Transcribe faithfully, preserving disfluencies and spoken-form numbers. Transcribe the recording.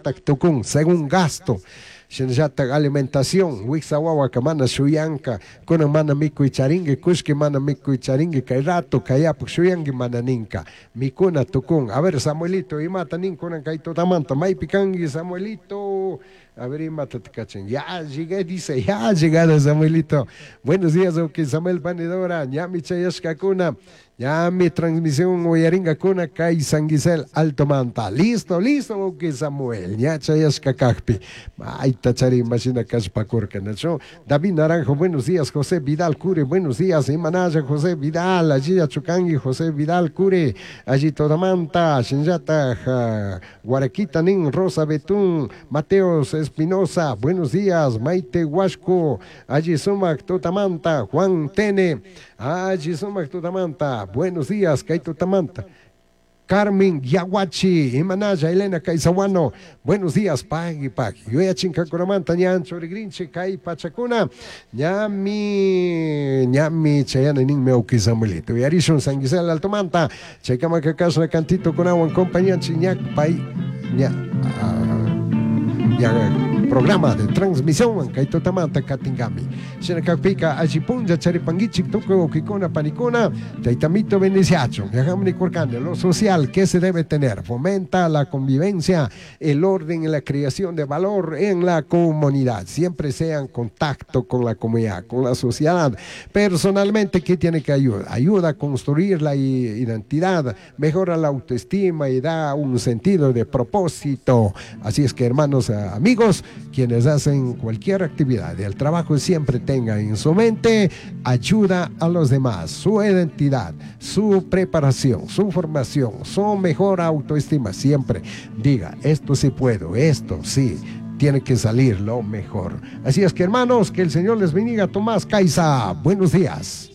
Shinallatak tukun según gasto. Shinallatak alimentación, wiksa wawaka mana shuyanka, kunan mana mikuy charinki, kushki mana mikuy charinki, kay rato kayapuk shuyanki mana ninka. Mikuna tukun. A ver, Samuelito, imata nin kunan kay tutamanta, maypi kanki, Samuelito. A ver, imata te cachan. Ya llegué, dice, ya ha llegado Samuelito. Buenos días, ok, Samuel Panidora, ñami chayashkakuna, ñami transmisión uyaringakuna, kay San Gisel, Alto Manta. Listo, listo, ok, Samuel, ña chayashkakakpi. Ay, tachari, imagina kashpakurka, ¿no? David Naranjo, buenos días, José Vidal Cure, buenos días, Imanaya, José Vidal, allí Achucangui, José Vidal Cure, allí Todamanta, Shinjata, Guaraquita Nin, Rosa Betún, Mateos Espinosa, buenos días, Maite Huasco, allí Sumac Tutamanta, Juan Tene, allí Sumac Tutamanta, buenos días, Kay Tutamanta. Carmen Yaguachi, Imanaya, Elena Caizahuano, buenos días, pagui, pagui. Yo ya chincacuramanta, ñan chorigrinche, kai pachacuna, ñami, ñami, chayana nin meuki Samuelito. Yarishun San Gisel Altomanta, chaykamaka cantito con agua en compañía, chiñac, pay, ña, ña, programa de transmisión kay tutamanta katingami. Shinakakpika allipunlla charipanguichik tukuy wawkikuna panikuna taytamito bendiciachun. Viajamos kurkani, lo social que se debe tener, fomenta la convivencia, el orden y la creación de valor en la comunidad. Siempre sea en contacto con la comunidad, con la sociedad. Personalmente, ¿qué tiene que ayudar? Ayuda a construir la identidad, mejora la autoestima y da un sentido de propósito. Así es que, hermanos, amigos, quienes hacen cualquier actividad el trabajo siempre tenga en su mente ayuda a los demás, su identidad, su preparación, su formación, su mejor autoestima. Siempre diga, esto sí puedo, esto sí, tiene que salir lo mejor. Así es que, hermanos, que el Señor les bendiga. Tomás Caiza, buenos días.